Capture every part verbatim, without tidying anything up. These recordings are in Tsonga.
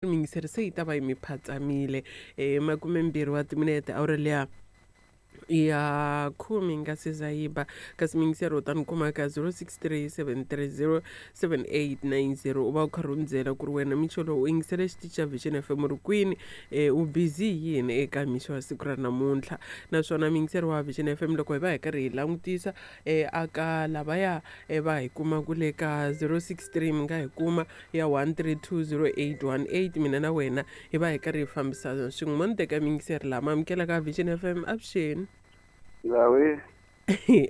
Miyingiseri se yi ta va yi mi phatsamile um makumembirhi wa timinete awara liya ya khume yi nga se za yi ba kasi miyingiseri u ta ni kuma ka zero six three seven three zero seven eight nine zero u va u karhi u ni byela ku ri wena mixo lowu u yingisele xitichi xa Vision F M u ri kwini, um u busy hi yini eka mixo wa siku ra namuntlha. Naswona miyingiseri wa Vision F M, loko hi va hi karhi hi langutisa um aka lavaya um va hi kumaka le ka zero six three, mi nga hi kuma ya one three two zero eight one eight, mina na wena hi va hi karhi hi fambisana swin'we. Mo ni teka miyingiseri lama amukelaka Vision F M, avuxeni. Zawe.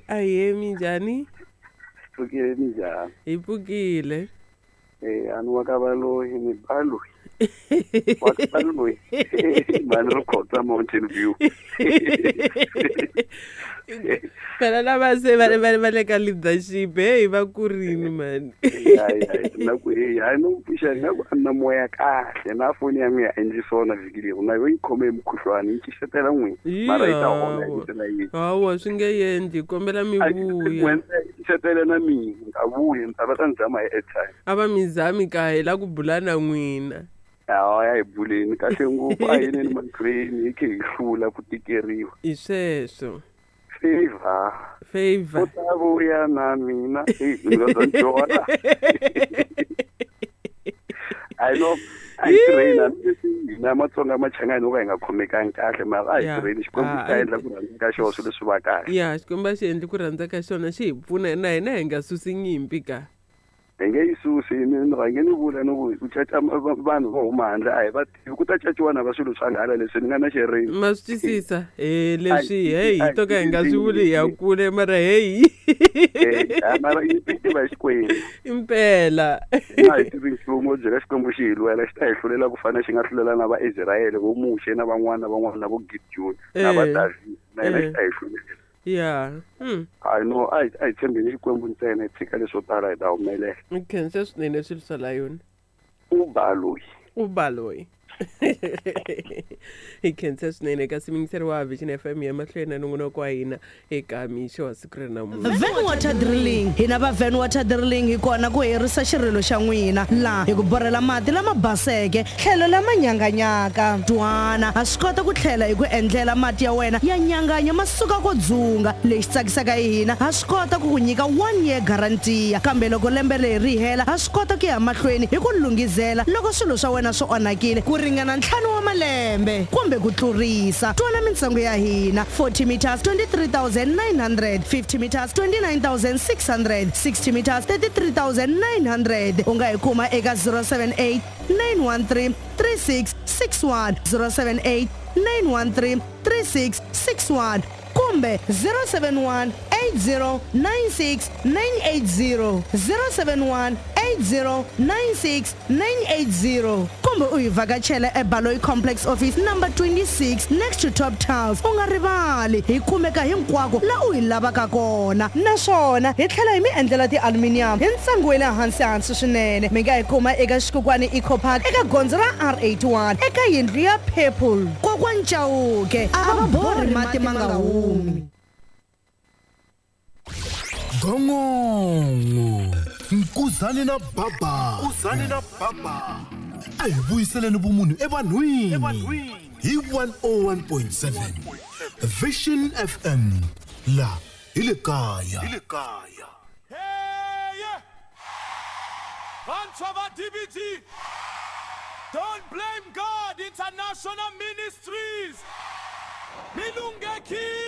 Ahee, minjhani? Pfukile, minjhani? Hi pfukile. Eh, a ni wa ka Valoyi, ni Baloyi. Wa ka Baloyi. Mani ri Khotsa, Mountain View. Phela lava se va va va le ka leadership, heyi, va kurini mani. Hayi hayi, na ku hey, hayi, no pfuxa nga ku a ni na moya kahle na foni ya mina a endli swona vhiki leri, na yo yi khome hi mukhuhlwani, yi xixetela n'wina, mara yi ta hola hi ndlela yihi. Hawa, swi nge endli, kombela mi vuya. Xixetela na mina ni ta vuya, ni ta va ta ni zama hi airtime. A va mi zami ka hi la ku bula na n'wina. Hawa, ya hi buleni kahle ngopfu, a yineni mahlweni hi khe hi hlula ku tikeriwa. Hi sweswo. Favor. Favor. U ta vuya na mina. Hey, ni nga dyona. I know a hi tirheni, hambileswi hina Matsonga Machangani ho ka hi nga khomekangi kahle, mara a hi Ya. tirheni, Xikwembu xi ta Ah, endla ku rhandza ka xona, swilo swi va kahle. Ya, Xikwembu a xi endli ku rhandza ka xona, xi hi pfuna na hina hi nga susi nyimpi ka. Hi nge yi susi, ni ni rhange ni vula ni ku ku caca vanhu vo huma handle a hi va tivi, ku ta caciwa na va swilo swa nghala leswi ni nga na xirimi. Ma swi twisisa he leswi, heyi, A hi to ka hi nga swi vuli hi ya kule, mara heyi. Eh, mara yi tiva Xikwembu. Impela. Hina a hi tivi nchumu, byela Xikwembu xi hi lwela, xi ta hi hlulela ku fana xi nga hlulela na Vaisrayele, vo Muxe na van'wana na van'wana na vo Gideon na va Eh. David, na hina Eh. xi ta hi hlulela. Ya hmm. Hayi no, a hi a hi tshembeni Xikwembu ntsena, hi tshika leswo tala, hi ta humelela. Ni khensa swinene swilo swa la yona. U Baloyi. U Baloyi, hi khensa swinene. Kasi miyingiseri wa Vision F M, ya mahlweni na nongonoko wa hina eka mixo wa siku ra namuntlha. Van Water Drilling, hina va Van Water Drilling hi kona ku herisa xirilo xa n'wina laha hi ku borhela mati lama baseke tlhelo lama nyanganyaka. Twana, ha swi kota ku tlhela hi ku endlela mati ya wena ya nyanganya ma suka ko dzunga. Lexi tsakisaka hi hina, ha swi kota ku ku nyika one year guarantee, kambe loko lembe leri ri hela, ha swi kota ku ya mahlweni hi ku lunghizela loko swilo swa wena swi onhakile ku ringana ntlhanu wa malembe kumbe ku tlurisa. Twana mintsengo ya hina: forty meters twenty-three thousand nine hundred, fifty meters twenty-nine thousand six hundred, sixty meters thirty-three thousand nine hundred. U nga hi kuma eka zero seven eight, nine one three three six six one, zero seven eight, nine one three three six six one, kumbe zero seven one, eight zero nine six nine eight zero, zero seven one, eight zero nine six nine eight zero, kumbe u hi vhakachela eBaloyi Complex, office number twenty-six, next to Top Tiles. U nga rivali, hi kumeka hinkwako la u hi lavaka kona, naswona hi tlhela hi mi endlela ti-aluminium hi ntsengo wa le hansi hansi swinene. Mi nga hi kuma eka Xikukwani Eco Park, eka gondzo ra R eighty-one, eka yindlu ya purple. Kokwani Chauke a va borhi mati ma nga humi. Gongongo Nkuzani na Baba, Nkuzani na Baba, a hi vuyiseleni vumunhu evanhwini hi one oh one point seven Vision F M, la hi le kaya. Hey! Vantshwa va D B G! Don't Blame God International Ministries! Mi lunghekile!